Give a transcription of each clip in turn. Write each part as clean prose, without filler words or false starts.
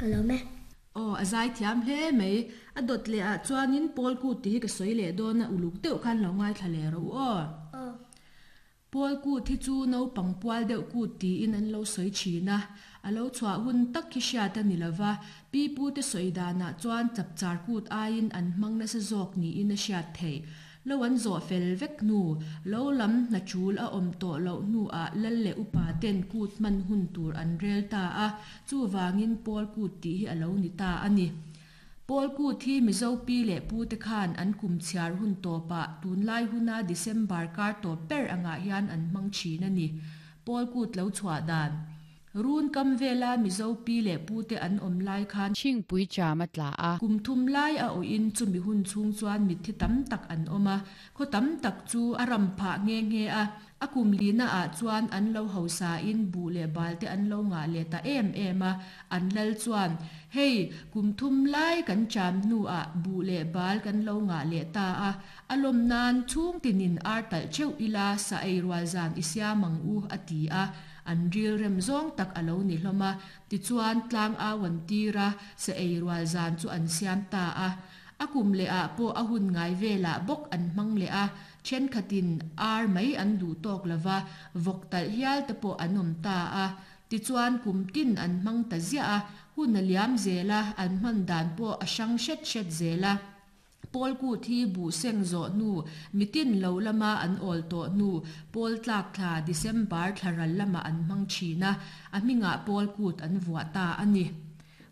Ka lawm e. Aw, a zaithiam hle mai. A dawt leh ah chuanin Paul Kut tih hi ka sawi leh dawn a, uluk deuh khan lo ngaithla leh rawh u aw. Aw. Paul Kut hi chu naupang pual deuh kut tiin an lo sawi thin a, a lo chhuah hun tak hi hriat a ni lo va, pi pute sawi danah chuan chapchar kut aiin an hmang nasa zawk niin a hriat theih. Lo an zawh fel vek hnu, lo lam hna tul a awm tawh loh hnuah lal leh upa ten kut hman hun tur an rel ta a, chuvangin Paul kut tih hi a lo ni ta a ni. Paul kut hi Mizo pi leh pu te khan an kum chhiar hun tawpah tunlai huna December kar tawp ber angah hian an hmang thin a ni. Paul kut lo chhuah dan. Run kam vela Mizo pi leh pu te an awm lai khan. Chhingpui cham a tla a. Kum thum lai a awhin chumi hun chhung chuan mitthi tam tak an awm a, khaw tam tak chu a ram phah nghe nghe a. A kum lina ah chuan an lo hausa in buh leh bal te an lo ngah leh ta em em a, an lal chuan, Hei, kum thum lai kan cham hnu ah buh leh bal kan lo ngah leh ta a, a lawm nan chhung tinin ar talh theuh ila sa ei rual zan i siam ang u, a ti a. An ril rem zawng tak a lo ni hlawm a, tichuan tlang au an tir a, sa ei rual zan chu an siam ta a. A kum leh ah pawh a hun ngai velah bawk an hmang leh a, Thenkhatin ar mai an duh tawk lo va, vawk talh hial te pawh an awm ta a. Tichuan kum tin an hmang ta ziah a, hun a liam zel a, an hman dan pawh a hrang hret hret zel a. Pawl kut hi buh seng zawh hnu, mitin lo lama an awl tawh hnu, pawl tlak thla, December thla ral lamah an hmang thin a, a hmingah pawl kut an vuah ta a ni.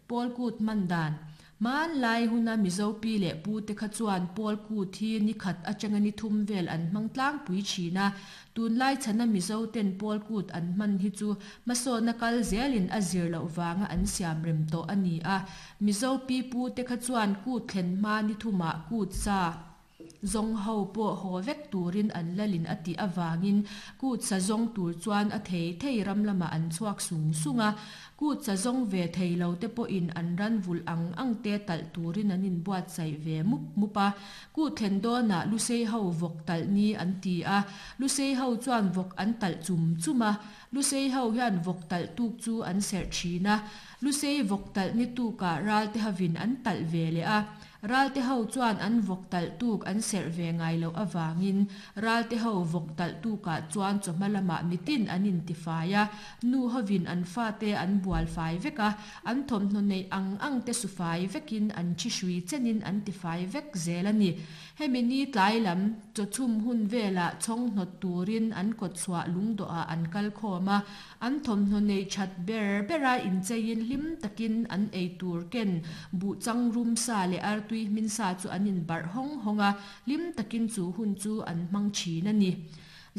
Pawl kut hman dan. Hmanlai huna Mizo pi leh pu te kha chuan Pawl kut hi ni khat atanga ni thum vel an hmang tlangpui thin a. Tunlai chhana Mizo ten Pawl kut an hman hi chu hmasawnna kal zelin a zir loh vanga an siam rem tawh a ni a. Mizo pi pu te kha chuan kut thlen hma ni thumah kut sa Zawng ho pawh haw vek turin an lalin a tih avangin kut sa zawng tur chuan a thei thei ram lamah an chhuak sung sung a. Kut sa zawng ve thei lo te pawhin an ran vulh ang ang te talh turin an inbuatsaih ve mup mup a. Kut thlen dawnah Lusei ho vawk talh ni an ti a. Lusei ho chuan vawk an talh chum chum a. Lusei ho hian vawk talh tuk chu an serh thin a. Lusei vawk talh ni tukah ralte hovin an talh ve leh a. Ralte ho chuan an vawk talh tuk an serh ve ngai loh avangin Ralte ho vawk talh tukah chuan chawhma lamah mitin an intifai a, nu hovin an fate an bual fai vek a, an thawmhnaw neih ang ang te su fai vekin an thi hrui chenin an tifai vek zel a ni. Hemi ni tlai lam chawchhum hun velah chhawng hnawt turin an kawtchhuah lungdawhah an kal khawm a, An thawmhnaw neih that ber bera incheiin hlim takin an ei tur ken buh chang rum sa leh artui hmin sa chu an inbarh hawng hawng a, hlim takin chu hun chu an hmang thin a ni.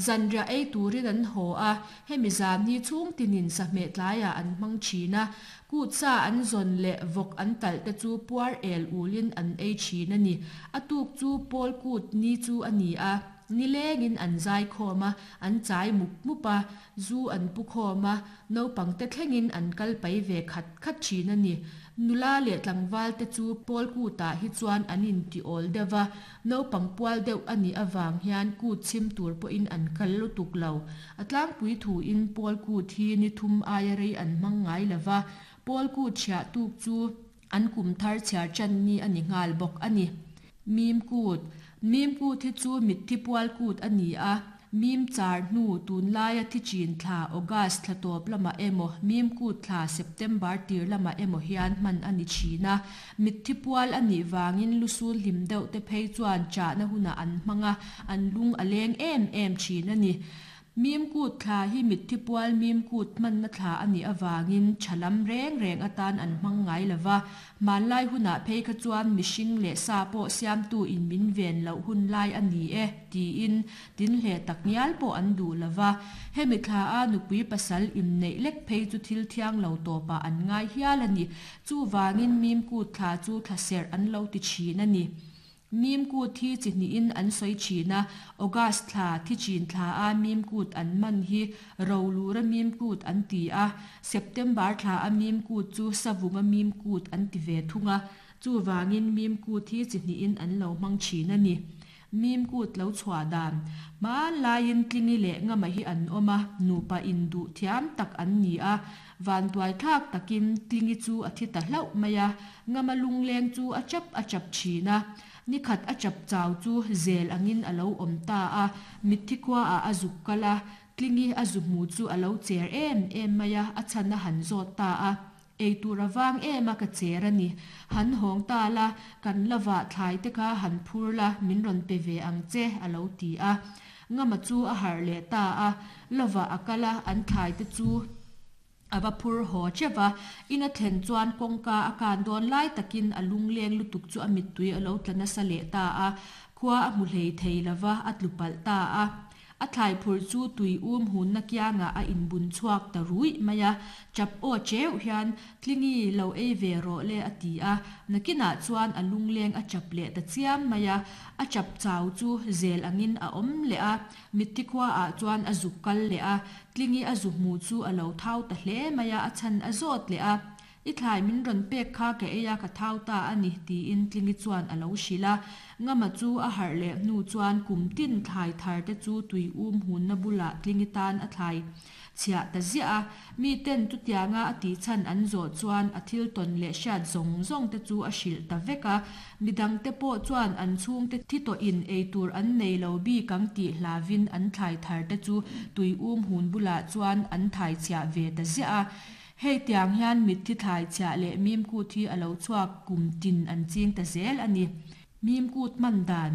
Zanriah ei turin an haw a, hemi zan hi chhung tinin sahmeh tlaiah an hmang thin a, kut sa an zawn leh vawk an talh te chu puar el ulin an ei thin a ni. A tuk chu Pawl kut ni chu a ni a. Nilengin an zai khawm a, an chai mup mup a, zu an pu khawm a, naupang te thlengin an kal pai ve khat khat thin a ni. Nula leh tlangval te chu pawl kutah hi chuan an inti awl deuh va, naupang pual deuh a nih avang hian kut chhim tur pawhin an kal lutuk lo. A tlangpui thuin pawl kut hi ni thum aia rei an hmang ngai lo va, pawl kut chhiah tuk chu An kum thar chhiar ṭan ni a ni nghal bawk a ni. Mim kut, Mim kut hi chu mitthi pual kut a ni a, mim char hnu tunlaia thi chin thla August thla tawp lamah emaw mim kut thla September tir lamah emaw hian hman a ni thin a. Mitthi pual a nih vangin lusul hlim deuh te phei chuan chahna hunah an hmang a, an lung a leng em em thin a ni. Mim kut thla hi mitthi pual mim kut hmanna thla a nih avangin tha lam reng reng atan an hmang ngai lo va. Hmanlai hunah phei kha chuan mihring leh sa pawh siamtu in min ven loh hun lai a ni e tiin tinhleh tak ngial pawh an duh lo va. Hemi thla a nupui pasal inneih lek phei chu thil thiang lo tawpah an ngai hial a ni. Chuvangin mim kut thla chu thla serh an lo ti thin a ni. Mim kut hi chi hnihin an sawi thin a, August thla, thi chin thla a mim kut an man hi Rolura mim kut an ti a, September thla a mim kut chu Savunga mim kut an ti ve thung a, chuvangin mim kut hi chi hnihin an lo hmang thin a ni. Mim kut lo chhuah dan. Hmanlaiin Tlingi leh Ngama hi an awm a, nupa induh thiam tak an ni a. Vanduaithlak takin Tlingi chu a thi ta hlauh mai a, Ngama lungleng chu a chap a chap thin a. Nikhat a chap chau chu zel angin a lo awm ta a, mitthi khuaah a zuk kal a, Tlingi a zu hmu chu a lo cher em em mai a, a chhan a han zawt ta a. Ei tur a vang em a ka cher a ni. Han hawng ta la, kan la vah thlai te kha han phur la, min rawn pe ve ang che, a lo ti a. Ngama chu a harh leh ta a, lovah a kal a, an thlai te chu a va phur haw teuh va. In a thlen chuan kawngka a kan dawn lai takin a lungleng lutuk chu a mittui a lo tla nasa leh ta a, khua a hmu hlei thei lo va, a tlu palh ta a. A thlai phurh chu tui um hunna kiangah a inbun chhuak ta ruih mai a, chap aw cheuh hian, Tlingi, lo ei ve rawh le a ti a. Nakinah chuan a lungleng a chap leh ta chiam mai a, a chap chau chu zel angin a awm leh a, mitthi khuaah chuan a zuk kal leh a, Tlingi a zu hmu chu a lo thau ta hle mai a, a chhan a zawt leh a. I thlai min rawn pek kha ka ei a, ka thau ta a ni, tiin Tlingi chuan a lo hrilh a. Ngama chu a harh leh hnu chuan kum tin thlai thar te chu tui um hunna bulah Tlingi tan a thlai chhiah ta ziah a. Mi ten chutianga a tih chhan an zawh chuan a thil tawn leh hriat zawng zawng te chu a hrilh ta vek a. Midang te pawh chuan an chhungte thi tawhin ei tur an nei lo bik ang tih hlavin an thlai thar te chu tui um hun bulah chuan an thai chhiah ve ta ziah a. Hei tiang hian mitthi thlai chhiah leh mim kut hi a lo chhuak kum tin an ching ta zel a ni. Mim kut hman dan,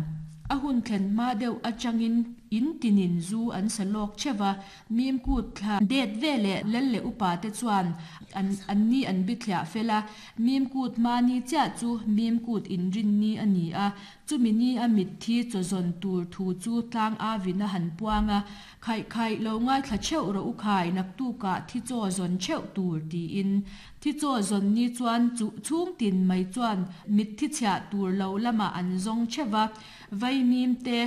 A hun thlen hma deuh atangin in tinin zu an sa lawk theuh va, mim kut thla det ve leh lal leh upa te chuan an an ni an bithliah fel a, mim kut hma ni chiah chu mim kut inrin ni a ni a, chumi ni a mitthi chaw zawn tur thu chu tlang avin a han puang a, Khaih khaih lo ngaithla theuh rawh u khai, naktukah thi chaw zawn theuh tur tiin. Thi chaw zawn ni chuan chu chhung tin mai chuan mitthi chhiah tur lo lamah an zawng theuh va, vaimim te,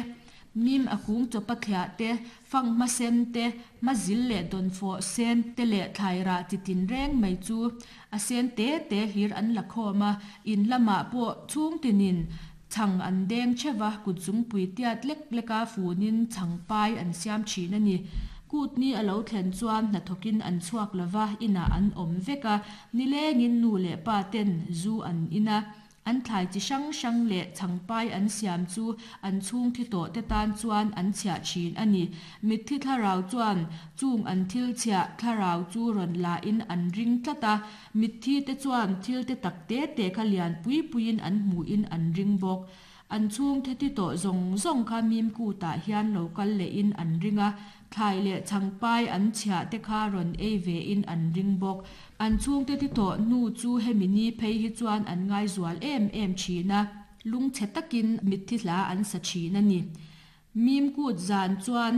mim a kung chawpa thliah te, fanghma sen te, hma zil leh dawnfawh sen te leh thlairah chi tin reng mai chu a sen te te hlir an la khawm a, in lamah pawh chhung tinin Chhang an deng theuh va, kut zungpui tiat lek leka funin chhang pai an siam thin a ni. Kut ni a lo thlen chuan hnathawkin an chhuak lo va, inah an awm vek a, nilengin nu leh pa ten zu an in a. An thlai chi hrang hrang leh chhang pai an siam chu an chhung thi tawh te tan chuan an chhiah thin a ni. Mitthi thlarau chuan chung an thil chhiah thlarau chu rawn lahin an ring tlat a, Mitthi te chuan thil te tak te te kha lian pui puiin an hmuhin an ring bawk. An chhungte ti tawh zawng zawng kha mim kutah hian lo kal lehin an ring a, thlai leh chhangpai an chhiah te kha rawn ei vein an ring bawk. An chhungte ti tawh hnu chu hemi ni phei hi chuan an ngaizual em em thin a, lungchhe takin mitthi hla an sa thin a ni. Mim kut zan chuan.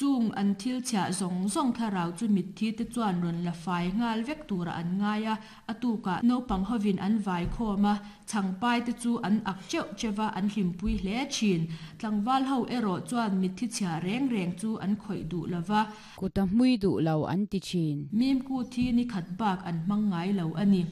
Chung an thil chhiah zawng zawng thlarau chu mitthi te chuan rawn la fai nghal vek turah an ngai a, a tukah naupang hovin an vai khawm a, chhangpai te chu an ak teuh teuh va, an hlimpui hle thin. Tlangval ho erawh chuan mitthi chhiah reng reng chu an khawih duh lo va. Kut a hmui duh lo an ti thin. Mimku thi ni khat bak an hmang ngai lo a ni.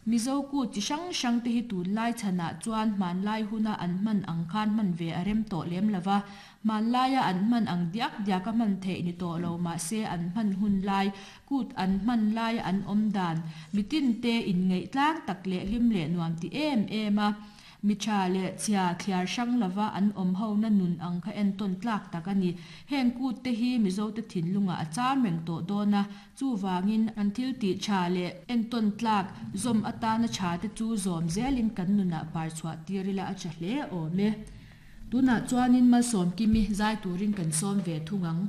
Mizo kut chi hrang hrang te hi tunlai chhanah chuan hmanlai huna an hman ang khan hman ve a rem tawh lem lo va, Hmanlaia an hman ang diak diaka hman theih ni tawh lo mahse an hman hun lai, kut an hman laia an awm dan, mitin te inngeih tlang tak leh hlim leh nuam ti em em a, mi tha leh chhia thliar hrang lova an awm hona nun ang kha entawn tlak tak a ni. Heng kut te hi Mizote thinlungah a cham reng tawh dawn a, chuvangin an thil tih tha leh entawn tlak zawm atana tha te chu zawm zelin kan nunah par chhuah tir ila a tha hle awm e. Tunah chuanin Malsawmkimi zai turin kan sawm ve thung ang.